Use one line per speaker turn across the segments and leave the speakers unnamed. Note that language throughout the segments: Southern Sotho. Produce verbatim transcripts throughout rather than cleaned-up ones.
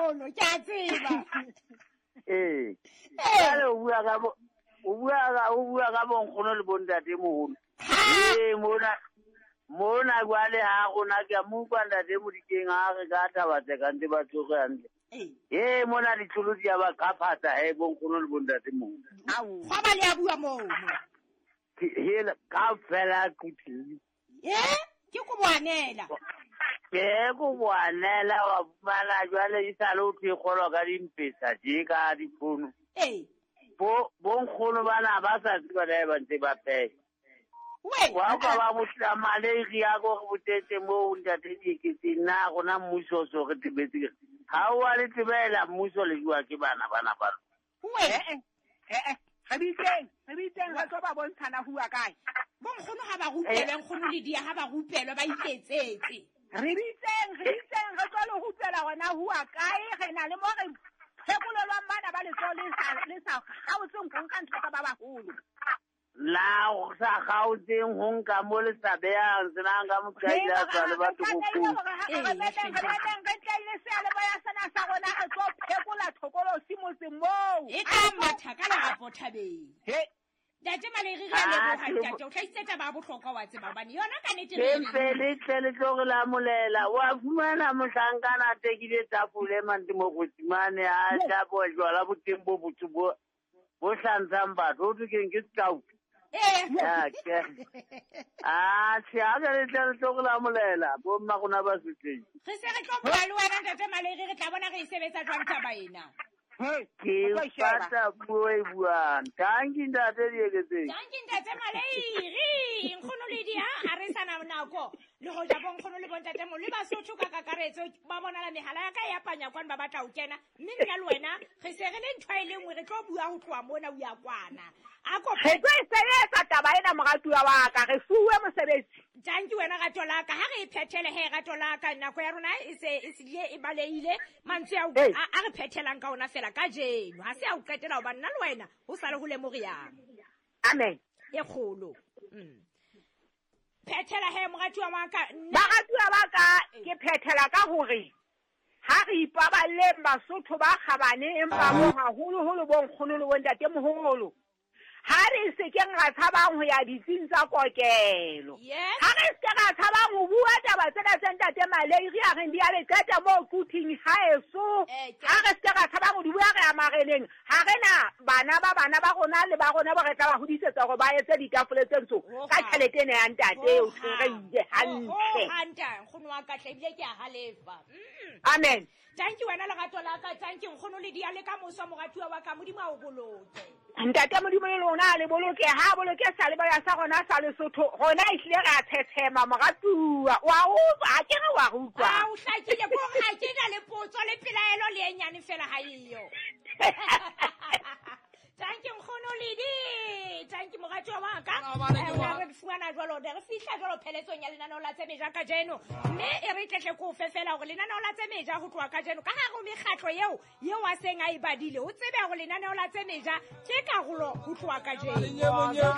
moholo, ke a tseba.
Ee. Jwale o bua ka bo o bua ka o bua ka bonkgono le bontate moholo. Ee mona mona jwale ha rona ke a mo utlwa ntate Modikeng ha re ka taba tse ka ntse ba tsoge hantle. Ee mona ditlolo di a ba qaphatsa he bonkgono le bontate moholo.
Ao. Gwa ba le a bua moo.
Hela kaofela kuthi.
Eh? Ke ko boanela.
Ke ko boanela wa fumana jwale e sale o thwe kgolwa ka dimpesa tje ka difono.
Ee.
Bo bonkgono bana ba sa tseba le ba ntse ba pheha.
We.
Wa ka ba botla malaria go re botetse moo ntate Dieketseng na rona mmuso so re tebetse. Ha o a le tebela mmuso le jwa ke bana bana ba.
We.
Eh eh. Re bitseng, re bitseng re tlo ba bontshana hua kae.
Bonkgono ha ba rupelwe, nkgono le dia ha ba rupelwe ba iketsetse.
Re bitseng, re bitseng re tlo le rupela hona hua kae, re na le mo re phekolelwang bana ba letsoho le sa le sa kgaotseng ho nka ntho tsa ba baholo.
La o sa kgaotseng ho nka mo le sa behang senang ka mokaila tswa le batho bo
Re re re tlaile seyalemoya sena sa rona re tlo phekola thokolosi motseng moo.
E ka matha ka lerapo thabeng.
He.
Ntate Maleiri re a leboha ntate, o hlahisitse taba ya bohlokwa wa tseba hobane yona ka nnete re
Empe le tle le tlo re lamolela. Wa fumana mohlankana a tekile tafole mante mo Mokgotsimane a tla bo jwala boteng bo botho bo bo hlantshang batho. Ho thwe keng ke stout.
Eh.
Ya ke. Ah, tjhe, ha ke le tle le tlo re lamolela bo mma rona ba sotlehile.
Re se re tlo bua le wena ntate Maleiri, re tla bona re e sebetsa jwang taba ena.
Ke fata puo e buang. Tanki ntate Dieketseng.
Tanki ntate Maleiri. Nkgono le dia ha re sana nako. Le hoja bo nkgono le bontate mo le Basotho ka kakaretso ba bonala mehala ya ka ya panya kwana ba batla ho kena. Mme nna le wena re se re le ntho e le nngwe re tlo bua ho tloha mona o ya kwana. A ko
Re tlo e sebetsa taba ena moratuwa wa ka, re fuwe mosebetsi.
Tanki wena rato la ka, ha re e phethele he rato la ka, nako ya rona e se e sile e balehile. Mantswe a a re phethelang ka ona fela kajeno. Ha se a o qetela hobane nna le wena ho sale ho le moriana.
Amen.
E kgolo. Mm. Phethela he moratuwa wa ka.
Baratuwa ba ka ke phethela ka hore ha re ipaballeng Basotho ba kgabane empa bo haholoholo bo nkgono le bontate moholo. Ha re se keng ra tshabang ho ya ditsing tsa kokelo. Ha re se ra tshabang ho bua taba tsena tse ntate Maleiri a reng di a le qeta moo kuthing haeso. Ha re se ra tshabang ho di bua re ya mareneng. Ha re na bana ba bana ba rona le ba rona ba re tla ba hodisetsa hore ba etse ditafole tse ntsho ka tjhelete ena ya ntate eo re ile hantle.
Ho hantle nkgono wa ka tle ebile ke a halefa.
Amen.
Thank you wena lerato la ka, thank you nkgono le dia le ka moso moratuwa wa ka, Modimo a o boloke.
Ntate Modimo le lona le boloke, ha boloke sa le ba sa rona sa Lesotho. Rona e hlile ra thetshema moratuwa. Wa utlwa, ha ke re wa utlwa.
Ah, o hlakile ko ha ke na le potso le pelaelo le e nyane fela ha eyo. Thank you nkgono Ledi. Thank you moratuwa wa ka. Re fumana jwalo, re fihla jwalo pheletsong ya lenaneo la Tsemeja kajeno. Mme e re tletle ko fe fela hore lenaneo la Tsemeja ho tloha kajeno ka hare ho mekgatlo eo eo a seng a e badile. O tsebe hore lenaneo la Tsemeja ke karolo ho tloha kajeno.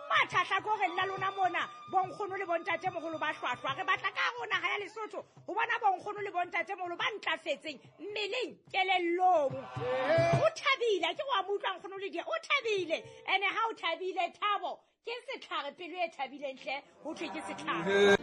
Matha hlakoreng la lona mona bonkgono le bontate moholo ba hlwahlwa. Re batla ka rona ha ya Lesotho ho bona bonkgono le bontate moholo ba ntlafetseng mmeleng kelellong. O thabile ke wa mo utlwa nkgono le dia o thabile ene ha o thabile thabo ke setlhare pelo e thabileng hle ho thwe ke setlhare.